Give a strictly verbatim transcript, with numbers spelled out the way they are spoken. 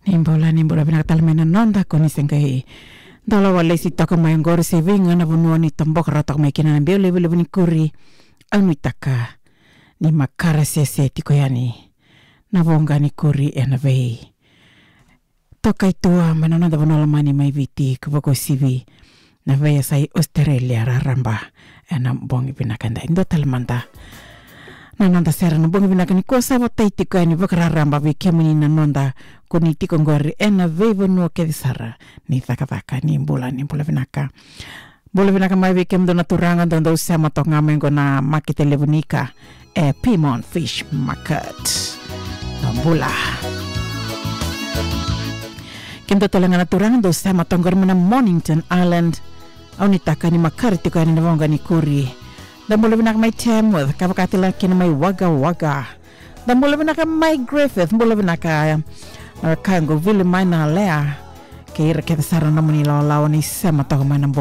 Ni bula, ni bula vinaka tale mai na noda, ko ni se qai dola walesi toka mai oqori se vei ga na vanua ni toboka rawa toka mai kina na biau levulevu ni kuri. Au nuitaka ni makare sese tiko yani na voqa ni kuri ena vei toka i tua mai na noda vanua lomani mai Viti, ka vakauasivi na veiyasai Australia raraba ena bogi vinaka edai. Dua tale mada na noda sere na bogi vinaka nikua, sa votai tiko yani vakararaba vei kemuni na noda, ko ni tiko oqori ena veivanua kece sara ni cakacaka. Ni bula, ni bula vinaka. Bula vinaka mai vei kemudou na turaga dou, dou sema toka ga mai oqo na makete levu ni ika e Pyrmont Fish Market. Bula. Kemudou tale ga na turaga dou sema toka oqori mai na Mornington Island. Au nuitaka ni makare tiko yani na voqa ni kuri. Da bula vinaka mai Tamworth, ka vakatale kina mai Wagga Wagga. Da bula vinaka mai Griffith, bula vinaka, e, ka qo vili mai na Lea. Kei ira kece sara na nomuni lawalawa ni sema toka mai na